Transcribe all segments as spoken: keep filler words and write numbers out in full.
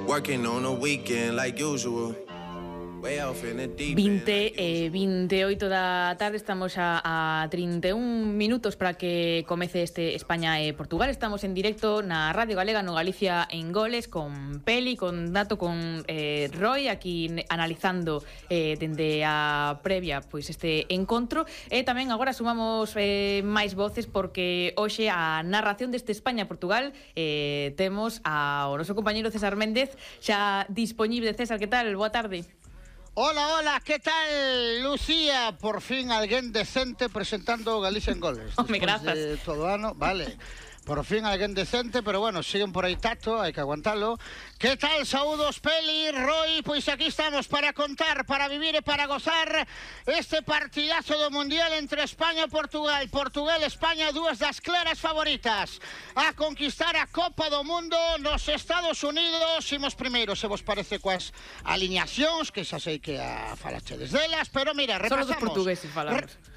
Working on a weekend like usual. vinte e vinte e oito da tarde, estamos a, a trinta e un minutos para que comece este España e Portugal. Estamos en directo na Radio Galega, no Galicia en Goles, con Peli, con Dato, con eh, Roy, aquí analizando eh, dende a previa pois este encontro. E tamén agora sumamos eh, máis voces, porque hoxe a narración deste España-Portugal eh, temos ao noso compañeiro César Méndez xa dispoñible. César, que tal? Boa tarde. Hola, hola, ¿qué tal, Lucía? Por fin alguén decente presentando Galicia en Goles. Home, grazas. De todo ano, vale. Por fin alguén decente, pero bueno, siguen por aí Tato, hai que aguantalo. Que tal, saúdos, Peli, Roy? Pois aquí estamos para contar, para vivir e para gozar este partidazo do Mundial entre España e Portugal. Portugal e España, dúas das claras favoritas a conquistar a Copa do Mundo nos Estados Unidos. Imos primeiro, se vos parece, coas alineacións, que xa sei que a falachedes delas, pero mira, repasamos. Solo dos portugueses falamos. Re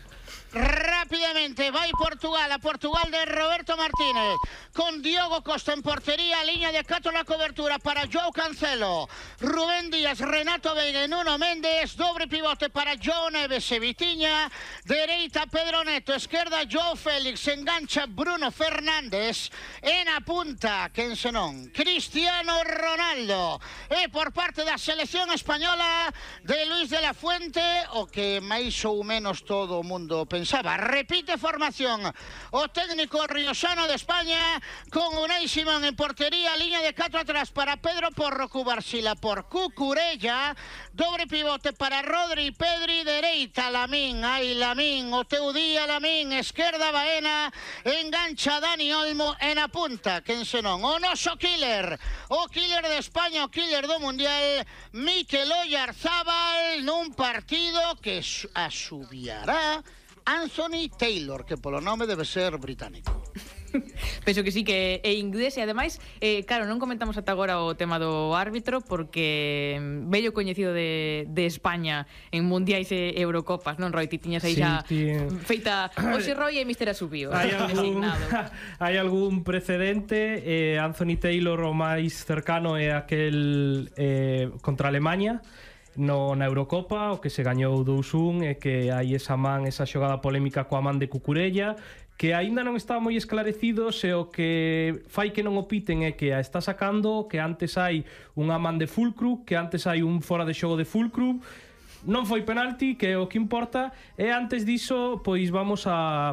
Rápidamente, vai Portugal, a Portugal de Roberto Martínez, con Diogo Costa en portería, liña de catro na cobertura para Joao Cancelo, Rubén Díaz, Renato Veiga e Nuno Méndez, dobre pivote para Joao Neves e Vitiña, dereita Pedro Neto, esquerda Joao Félix, engancha Bruno Fernández, e na punta, quen senón, Cristiano Ronaldo. E por parte da selección española de Luis de la Fuente, o que máis ou menos todo o mundo pensaba, repite formación o técnico riosano de España, con Unai Simón en portería, liña de catro atrás para Pedro Porro, Cubarsila por Cucurella, dobre pivote para Rodri, Pedri, dereita Lamín, ai Lamín, o teu día Lamín, esquerda Baena, engancha Dani Olmo, en a punta, quen senón, o noso killer, o killer de España, o killer do Mundial, Mikel Oyarzábal, nun partido que asubiará Anthony Taylor, que polo nome debe ser británico. Penso que sí, que é inglés. E ademais, eh, claro, non comentamos ata agora o tema do árbitro, porque vello coñecido de, de España en mundiais e Eurocopas, non, Roy? Ti tiñas aí sí, xa tí... feita hoxe Roy e mister Asubio. Hai algún, hai algún precedente. eh, Anthony Taylor o máis cercano é aquel eh, contra Alemania no, na Eurocopa, o que se gañou dous un, e que hai esa man, esa xogada polémica coa man de Cucurella, que aínda non está moi esclarecido se o que fai que non o piten é que a está sacando, que antes hai unha man de Fulcrum, que antes hai un fora de xogo de Fulcrum. Non foi penalti, que é o que importa, e antes diso, pois vamos a